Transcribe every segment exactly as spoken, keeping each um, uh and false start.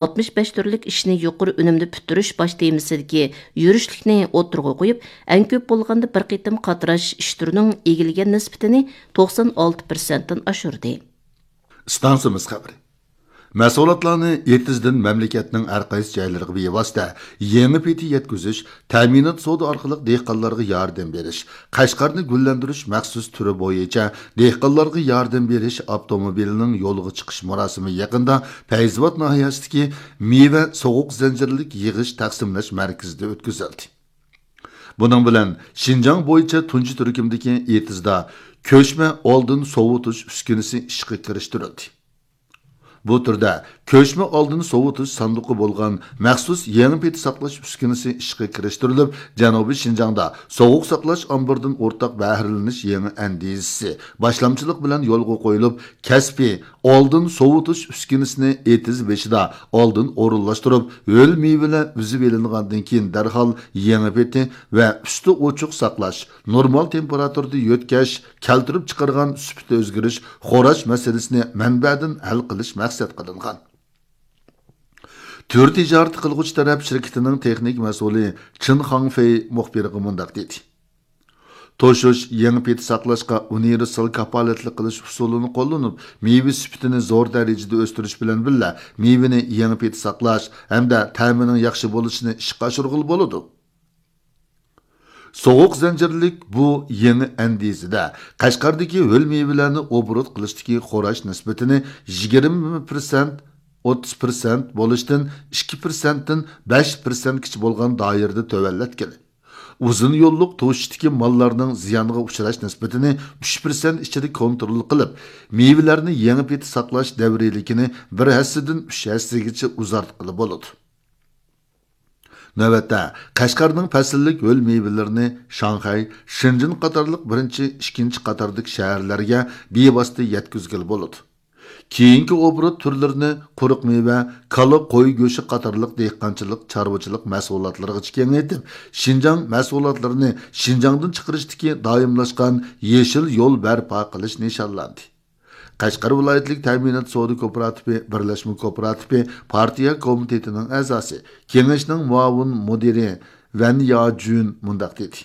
ئاتمىش بەش تۈرلۈك ئىشنى يۇقىرى ئۈنۈمدە پۈتتۈرۈش باش تېمىسىدىكى يۈرۈشلۈكنى ئوتتۇرىغا قويۇپ، ئەڭ كۆپ بولغاندا بىر قېتىم قاتراش ئىش تۈرىنىڭ ئىگىلىگەن نىسبىتىنى توقسان ئالتە پىرسەنتتىن ئاشۇردى. ئىستانسىمىز خەۋىرى. مەھسۇلاتلارنى ئېتىزدىن مەملىكەتنىڭ ھەر قايسى جايلىرىغا بىۋاسىتە يېڭى پېتى يەتكۈزۈش، تەمىنات سودا ئارقىلىق دېھقانلارغا ياردەم بېرىش، قەشقەرنى گۈللەندۈرۈش مەخسۇس تۈرى بويىچە دېھقانلارغا ياردەم بېرىش ئاپتوموبىلىنىڭ يولغا چىقىش مۇراسىمى يېقىندا پەيزىۋات ناھىيەسىدىكى مېۋە سوغۇق زەنجىرلىك يىغىش تەقسىملەش مەركىزىدە ئۆتكۈزۈلدى. بۇنىڭ بىلەن شىنجاڭ بويىچە تۇنجى تۈركۈمدىكى ئېتىزدا كۆچمە ئالدىن سوۋۇتۇش ئۈسكۈنىسى ئىشقا كىرىشتۈرۈلدى. بۇ تۈردە كۆچمە ئالدىن سوۋۇتۇش ساندۇقى بولغان مەخسۇس يېڭى پېتى ساقلاش ئۈسكۈنىسى ئىشقا كىرىشتۈرۈلۈپ، جەنۇبىي شىنجاڭدا سوغۇق ساقلاش ئامبىرىدىن ئورتاق بەھرىلىنىش يېڭى ئەندىزىسى باشلامچىلىق بىلەن يولغا قويۇلۇپ، كەسپىي ئالدىن سوۋۇتۇش ئۈسكۈنىسىنى ئېتىز بېشىدا ئالدىن ئورۇنلاشتۇرۇپ، ھۆل مېۋىلەر ئۈزۈۋېلىنغاندىن كېيىن دەرھال يېڭى پېتى ۋە ئۈستى ئوچۇق ساقلاش، نورمال تېمپېراتۇرىدا يۆتكەش، كەلتۈرۈپ چىقارغان سۈپىتى ئۆزگىرىش، خوراش مەسىلىسىنى مەنبەدىن ھەل قىلىش مەقسەت قىلىنغان. تۈر تىجارىتى قىلغۇچى تەرەپ شىركىتىنىڭ تېخنىك مەسئۇلى چېن خاڭفېي مۇخبىرغا مۇنداق دېدى: توشۇش، يېڭى پېتى ساقلاشقا ئۇنىۋېرسال كاپالەتلىك قىلىش ئۇسۇلىنى قوللىنىپ، مېۋە سۈپىتىنى زور دەرىجىدە ئۆستۈرۈش بىلەن بىللە، مېۋىنى يېڭى پېتى ساقلاش ھەمدە تەمىنىڭ ياخشى بولۇشىنى ئىشقا ئاشۇرغىلى بولىدۇ. سوغۇق زەنجىرلىك بۇ يېڭى ئەندىزىدە قەشقەردىكى ھۆل مېۋىلەرنى ئوبوروت قىلىشتىكى خوراش نىسبىتىنى يىگىرمە پىرسەنت، ئوتتۇز پىرسەنت بولۇشتىن ئىككى پىرسەنتتىن بەش پىرسەنتكىچە بولغان دائىرىدە تۆۋەنلەتكىلى. ئۇزۇن يوللۇق توشۇشتىكى ماللارنىڭ زىيانغا ئۇچراش نىسبىتىنى ئۈچ پىرسەنت ئىچىدە كونترول قىلىپ، مېۋىلەرنى يېڭى پېتى ساقلاش دەۋرىيلىكىنى بىر ھەسسىدىن ئۈچ ھەسسىگىچە ئۇزارتقىلى بولىدۇ. نۆۋەتتە، قەشقەرنىڭ پەسىللىك ھۆل مېۋىلىرىنى شاڭخەي، شېنجېن قاتارلىق بىرىنچى، ئىككىنچى قاتاردىكى شەھەرلەرگە بىۋاسىتە يەتكۈزگىلى بولىدۇ. كېيىنكى ئوبوروت تۈرلىرىنى قۇرۇق مېۋە، كالا، قوي گۆشى قاتارلىق دېھقانچىلىق، چارۋىچىلىق مەھسۇلاتلىرىغىچە كېڭەيتىپ، شىنجاڭ مەھسۇلاتلىرىنى شىنجاڭدىن چىقىرىشتىكى دائىملاشقان يېشىل يول بەرپا قىلىش نىشانلاندى. قەشقەر ۋىلايەتلىك تەمىنات سودا كوپىراتىپى بىرلەشمە كوپىراتىپى پارتىيە كومىتېتىنىڭ ئەزاسى، كېڭەشنىڭ مۇئاۋىن مۇدىرى ۋەن ياجۈن مۇنداق دېدى: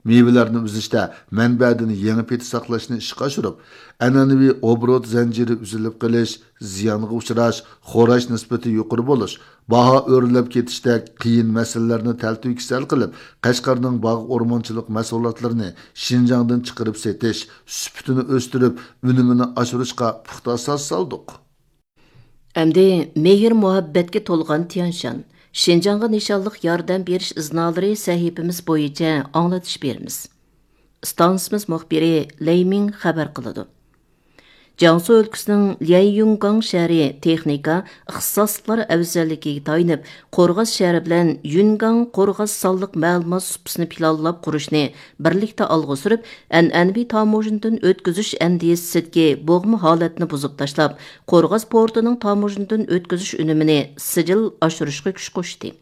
مېۋىلەرنى ئۈزۈشتە مەنبەدىن يېڭى پېتى ساقلاشنى ئىشقا ئاشۇرۇپ، ئەنئەنىۋى ئوبوروت زەنجىرى ئۈزۈلۈپ قېلىش، زىيانغا ئۇچراش، خوراش نىسبىتى يۇقىرى بولۇش، باھا ئۆرلەپ كېتىشتەك قىيىن مەسىلىلەرنى تەلتۆكۈس ھەل قىلىپ، قەشقەرنىڭ باغ ئورمانچىلىق مەھسۇلاتلىرىنى شىنجاڭدىن چىقىرىپ سېتىش، سۈپىتىنى ئۆستۈرۈپ، ئۈنۈمىنى ئاشۇرۇشقا پۇختا ئاساس سالدۇق. ئەمدى مېھىر-مۇھەببەتكە تولغان تيەنشان، شىنجاڭغا نىشانلىق ياردەم بېرىش ئىزنالىرى سەھىپىمىز بويىچە ئاڭلىتىش بېرىمىز. ئىستانسىمىز مۇخبىرى لەي مىڭ خەۋەر قىلىدۇ. جياڭسۇ ئۆلكىسىنىڭ ليەنيۈنگاڭ شەھىرى تېخنىكا، ئىختىساسلىقلار ئەۋزەللىكىگە تايىنىپ، قورغاس شەھىرى بىلەن يۈنگاڭ قورغاس سانلىق مەلۇمات سۇپىسىنى پىلانلاپ قۇرۇشنى بىرلىكتە ئالغا سۈرۈپ، ئەنئەنىۋى تاموژنىدىن ئۆتكۈزۈش ئەندىزىسىدىكى بوغما ھالەتنى بۇزۇپ تاشلاپ، قورغاس پورتىنىڭ تاموژنىدىن ئۆتكۈزۈش ئۈنۈمىنى سىجىل ئاشۇرۇشقا كۈچ قوشتى.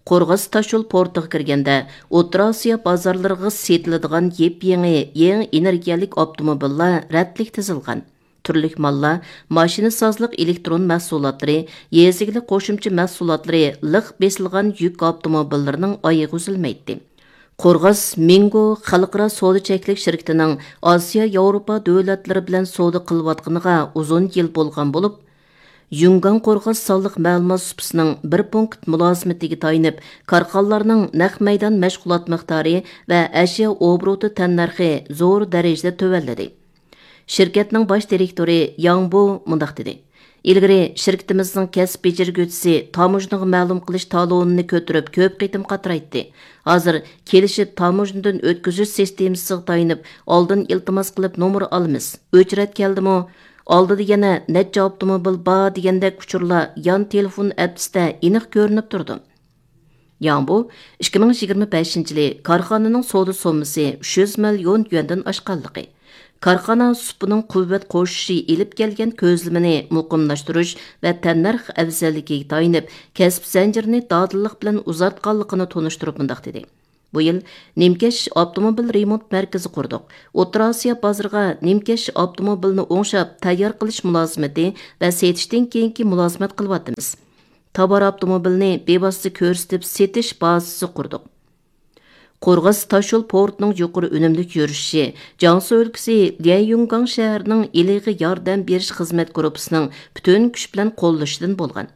قورغاس تاشيول پورتىغا كىرگەندە، ئوتتۇرا ئاسىيا بازارلىرىغا سېتىلىدىغان يېپيېڭى، يېڭى ئېنېرگىيەلىك ئاپتوموبىللار رەتلىك تىزىلغان. تۈرلۈك ماللار، ماشىنىسازلىق ئېلېكترون مەھسۇلاتلىرى، يېزا ئىگىلىك قوشۇمچە مەھسۇلاتلىرى، لىق بېسىلغان يۈك ئاپتوموبىللىرىنىڭ ئايىغى ئۈزۈلمەيتتى. قورغاس مىڭگو خەلقئارا سودا چەكلىك شىركىتىنىڭ ئاسىيا، ياۋروپا دۆلەتلىرى بىلەن سودا قىلىۋاتقىنىغا ئۇزۇن يىل بولغان بولۇپ، يۈنگاڭ قورغاس سانلىق مەلۇمات سۇپىسىنىڭ بىر پونكىت مۇلازىمىتىگە تايىنىپ، كارخانىلارنىڭ نەق مەيدان مەشغۇلات مىقدارى ۋە ئەشيا ئوبوروتى تەننەرخى زور دەرىجىدە تۆۋەنلىدى. شىركەتنىڭ باش دىرېكتورى ياڭ بو مۇنداق دېدى: ئىلگىرى شىركىتىمىزنىڭ كەسىپ بېجىرگۈچىسى تاموژنىغا مەلۇم قىلىش تالونىنى كۆتۈرۈپ كۆپ قېتىم قاترايتتى. ھازىر كېلىشىپ تاموژنىدىن ئۆتكۈزۈش سىستېمىسىغا تايىنىپ ئالدىن ئىلتىماس قىلىپ نومۇر ئالىمىز. ئۆچرەت كەلدىمۇ، ئالدىدا يەنە نەچچە ئاپتوموبىل بار دېگەندەك ئۇچۇرلار يان تېلېفون ئەپسىدە ئېنىق كۆرۈنۈپ تۇرىدۇ. ياڭبۇ ئىككى مىڭ يىگىرمە بەشىنچى يىلى كارخانىنىڭ سودا سوممىسى ئۈچ يۈز مىليون يۈەندىن ئاشقانلىقى، كارخانا سۇپىنىڭ قۇۋۋەت قوشۇشى ئېلىپ كەلگەن كۆزلىمىنى مۇقىملاشتۇرۇش ۋە تەننەرخ ئەۋزەللىكىگە تايىنىپ، كەسىپ زەنجىرىنى دادىللىق بىلەن ئۇزارتقانلىقىنى تونۇشتۇرۇپ مۇنداق دېدى: بۇ يىل نىمكەش ئاپتوموبىل رېمونت مەركىزى قۇردۇق. ئوتتۇرا ئاسىيا بازىرىغا نىمكەش ئاپتوموبىلىنى ئوڭشاپ تەييار قىلىش مۇلازىمىتى ۋە سېتىشتىن كېيىنكى مۇلازىمەت قىلىۋاتىمىز. تاۋار ئاپتوموبىلىنى بىۋاسىتە كۆرسىتىپ سېتىش بازىسى قۇردۇق. قورغاس تاشيول پورتىنىڭ يۇقىرى ئۈنۈملۈك يۈرۈشۈشى، جياڭسۇ ئۆلكىسى ليەنيۈنگاڭ شەھىرىنىڭ ئىلغا ياردەم بېرىش خىزمەت گۇرۇپپىسىنىڭ پۈتۈن كۈچ بىلەن قوللىشىدىن بولغان.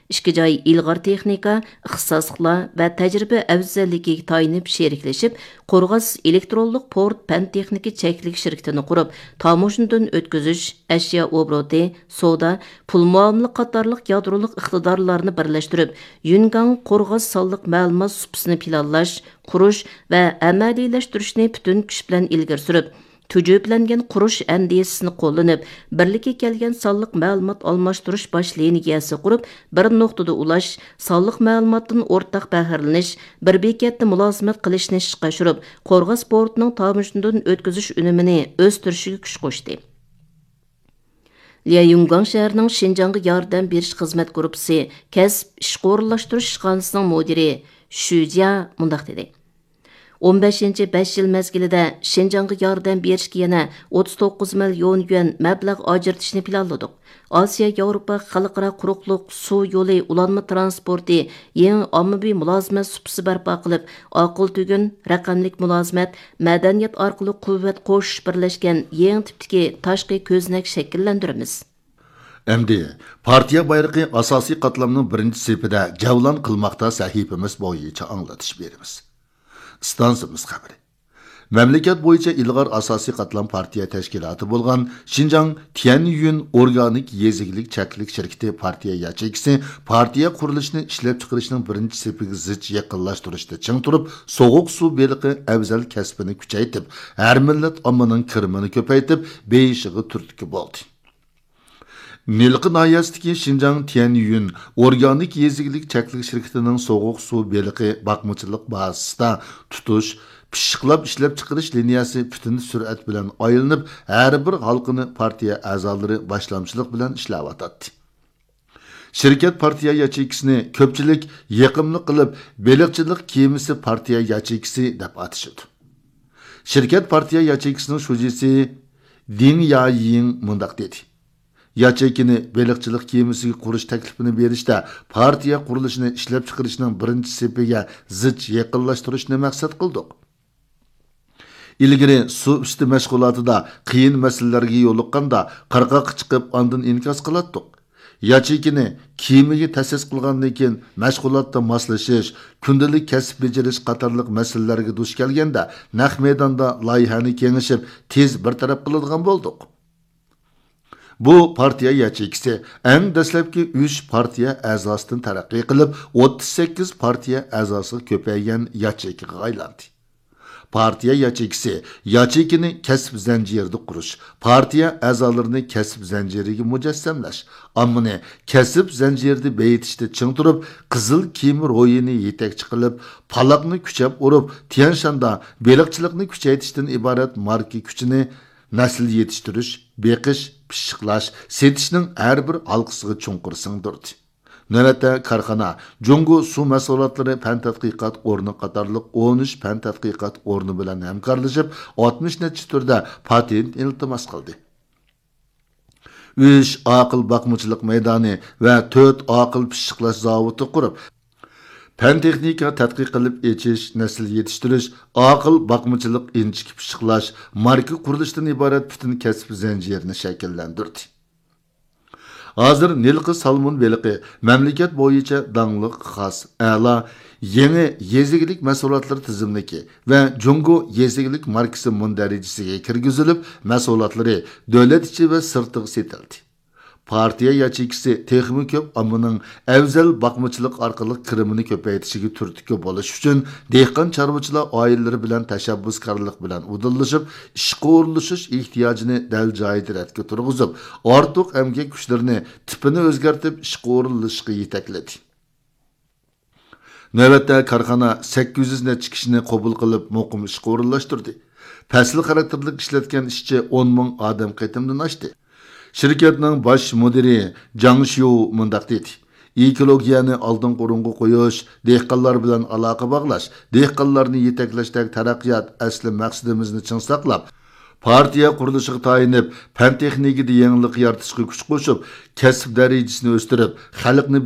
ئىككى جاي ئىلغار تېخنىكا، ئىختىساسلىقلار ۋە تەجرىبە ئەۋزەللىكىگە تايىنىپ شېرىكلىشىپ، قورغاس ئېلېكترونلۇق پورت پەن تېخنىكا چەكلىك شىركىتىنى قۇرۇپ، تاموژنىدىن ئۆتكۈزۈش، ئەشيا ئوبوروتى، سودا، پۇل مۇئامىلە قاتارلىق يادرولۇق ئىقتىدارلارنى بىرلەشتۈرۈپ، يۈنگاڭ قورغاس سانلىق مەلۇمات سۇپىسىنى پىلانلاش، قۇرۇش ۋە ئەمەلىيلەشتۈرۈشنى پۈتۈن كۈچ بىلەن ئىلگىرى سۈرۈپ، تۈجۈپىلەنگەن قۇرۇش ئەندىزىسىنى قوللىنىپ، بىرلىككە كەلگەن سانلىق مەلۇمات ئالماشتۇرۇش باش لىنىيەسى قۇرۇپ، بىر نۇقتىدا ئۇلاش، سانلىق مەلۇماتتىن ئورتاق بەھرىلىنىش، بىر بېكەتتە مۇلازىمەت قىلىشنى ئىشقا ئاشۇرۇپ، قورغاس پورتىنىڭ تاموژنىدىن ئۆتكۈزۈش ئۈنۈمىنى ئۆستۈرۈشىگە كۈچ قوشتى. ليەنيۈنگاڭ شەھىرىنىڭ شىنجاڭغا ياردەم بېرىش خىزمەت گۇرۇپپىسى كەسىپ ئىشقا ئورۇنلاشتۇرۇش ئىشخانىسىنىڭ مۇدىرى شۈ جيا مۇنداق دېدى: «ئون بەشىنچى بەش يىل مەزگىلىدە شىنجاڭغا ياردەم بېرىشكە يەنە ئوتتۇز توققۇز مىليون يۈەن مەبلەغ ئاجرىتىشنى پىلانلىدۇق. ئاسىيا ياۋروپا خەلقئارا قۇرۇقلۇق سۇ يولى ئۇلانما تىرانسپورتى يېڭى ئاممىۋى مۇلازىمەت سۇپىسى بەرپا قىلىپ، ئاقىل تۈگۈن، رەقەملىك مۇلازىمەت، مەدەنىيەت ئارقىلىق قۇۋۋەت قوشۇش بىرلەشكەن يېڭى تىپتىكى تاشقى كۆزنەك شەكىللەندۈرىمىز.» ئەمدى پارتىيە بايرىقى ئاساسىي قاتلامنىڭ بىرىنچى سېپىدە جەۋلان قىلماقتا سەھىپىمىز بويىچە ئاڭلىتىش بېرىمىز. ئىستانسىمىز خەۋىرى. مەملىكەت بويىچە ئىلغار ئاساسىي قاتلام پارتىيە تەشكىلاتى بولغان شىنجاڭ تيەنيۈن ئورگانىك يېزا ئىگىلىك چەكلىك شىركىتى پارتىيە ياچېيكىسى پارتىيە قۇرۇلۇشىنى ئىشلەپچىقىرىشنىڭ بىرىنچى سېپىگە زىچ يېقىنلاشتۇرۇشتا چىڭ تۇرۇپ، سوغۇق سۇ بېلىقى ئەۋزەل كەسپىنى كۈچەيتىپ، ھەر مىللەت ئاممىنىڭ كىرىمىنى كۆپەيتىپ، بېيىشىغا تۈرتكە بولدى. نىلقا ناھىيەسىدىكى شىنجاڭ تيەنيۈن ئورگانىك يېزا ئىگىلىك چەكلىك شىركىتىنىڭ سوغۇق سۇ بېلىقى باقمىچىلىق بازىسىدا تۇتۇش، پىششىقلاپ ئىشلەپچىقىرىش لىنىيەسى پۈتۈن سۈرئەت بىلەن ئايلىنىپ، ھەر بىر ھالقىنى پارتىيە ئەزالىرى باشلامچىلىق بىلەن ئىشلەۋاتاتتى. شىركەت پارتىيە ياچېيكىسىنى كۆپچىلىك يېقىملىق قىلىپ، بېلىقچىلىق كېمىسى پارتىيە ياچېيكىسى دەپ ئاتىشىدۇ. شىركەت پارتىيە ياچېيكىسىنىڭ شۇجىسى دىڭ يايىڭ مۇنداق دېدى: «ياچېيكىنى بېلىقچىلىق كېمىسىگە قۇرۇش تەكلىپىنى بېرىشتە پارتىيە قۇرۇلۇشىنى ئىشلەپچىقىرىشنىڭ بىرىنچى سېپىگە زىچ يېقىنلاشتۇرۇشنى مەقسەت قىلدۇق.» ئىلگىرى سۇ ئۈستى مەشغۇلاتىدا قىيىن مەسىلىلەرگە يولۇققاندا قىرغاققا چىقىپ ئاندىن ئىنكاس قىلاتتۇق. ياچېيكىنى كېمىگە تەسىس قىلغاندىن كېيىن مەشغۇلاتتا ماسلىشىش، كۈندىلىك كەسىپ بېجىرىش قاتارلىق مەسىلىلەرگە دۇچ كەلگەندە نەق مەيداندا لايىھەنى كېڭىشىپ تېز بىر تەرەپ قىلىدىغان بولدۇق. بۇ پارتىيە ياچېيكىسى ئەڭ دەسلەپكى ئۈچ پارتىيە ئەزاسىدىن تەرەققىي قىلىپ، ئوتتۇز سەككىز پارتىيە ئەزاسىغا كۆپەيگەن ياچېيكىغا ئايلاندى. پارتىيە ياچېيكىسى ياچېيكىنى كەسىپ زەنجىرىدە قۇرۇش، پارتىيە ئەزالىرىنى كەسىپ زەنجىرىگە مۇجەسسەملەش، ئاممىنى كەسىپ زەنجىرىدە بېيىتىشتە چىڭ تۇرۇپ، قىزىل كېمە روھىنى يېتەكچى قىلىپ، پالاقنى كۈچەپ ئۇرۇپ، تيەنشاندا بېلىقچىلىقنى كۈچەيتىشتىن ئىبارەت ماركا كۈچىنى نەسىل يېتىشتۈرۈش، بېقىش، پىششىقلاش، سېتىشنىڭ ھەر بىر ھالقىسىغا چوڭقۇر سىڭدۈردى. نۆۋەتتە كارخانا جۇڭگو سۇ مەھسۇلاتلىرى پەن تەتقىقات ئورنى قاتارلىق ئون ئۈچ پەن تەتقىقات ئورنى بىلەن ھەمكارلىشىپ، ئاتمىش نەچچە تۈردە پاتېنت ئىلتىماس قىلدى. ئۈچ ئاقىل باقمىچىلىق مەيدانى ۋە تۆت ئاقىل پىششىقلاش زاۋۇتى قۇرۇپ، پەن تېخنىكا تەتقىق قىلىپ ئېچىش، نەسىل يېتىشتۈرۈش، ئاقىل باقمىچىلىق، ئىنچىكە پىششىقلاش، ماركا قۇرۇلۇشىدىن ئىبارەت پۈتۈن كەسىپ زەنجىرىنى شەكىللەندۈردى. ھازىر نىلقا سالمون بېلىقى مەملىكەت بويىچە داڭلىق، خاس، ئەلا، يېڭى يېزا ئىگىلىك مەھسۇلاتلىرى تىزىملىكى ۋە جۇڭگو يېزا ئىگىلىك ماركىسى مۇندەرىجىسىگە كىرگۈزۈلۈپ، مەھسۇلاتلىرى دۆلەت ئىچى ۋە سىرتىغا سېتىلدى. پارتىيە ياچېيكىسى تېخىمۇ كۆپ ئاممىنىڭ ئەۋزەل باقمىچىلىق ئارقىلىق كىرىمىنى كۆپەيتىشىگە تۈرتكە بولۇش ئۈچۈن، دېھقان چارۋىچىلار ئائىلىلىرى بىلەن تەشەببۇسكارلىق بىلەن ئۇدۇللىشىپ، ئىشقا ئورۇنلىشىش ئېھتىياجىنى دەل جايىدا رەتكە تۇرغۇزۇپ، ئارتۇق ئەمگەك كۈچلىرىنى تىپىنى ئۆزگەرتىپ ئىشقا ئورۇنلىشىشقا يېتەكلىدى. نۆۋەتتە كارخانا سەككىز يۈز نەچچە كىشىنى قوبۇل قىلىپ، مۇقىم ئىشقا ئورۇنلاشتۇردى. پەسىل خاراكتېرلىك ئىشلەتكەن ئىشچى ئون مىڭ ئادەم قېتىمدىن ئاشتى. شىركەتنىڭ باش مۇدىرى جاڭ شيۇ مۇنداق دېدى: ئېكولوگىيەنى ئالدىنقى ئورۇنغا قويۇش، دېھقانلار بىلەن ئالاقە باغلاش، دېھقانلارنى يېتەكلەشتەك تەرەققىيات ئەسلى مەقسىتىمىزنى چىڭ ساقلاپ، پارتىيە قۇرۇلۇشىغا تايىنىپ، پەن-تېخنىكىدا يېڭىلىق يارىتىشقا كۈچ قوشۇپ، كەسىپ دەرىجىسىنى ئۆستۈرۈپ، خەلقنى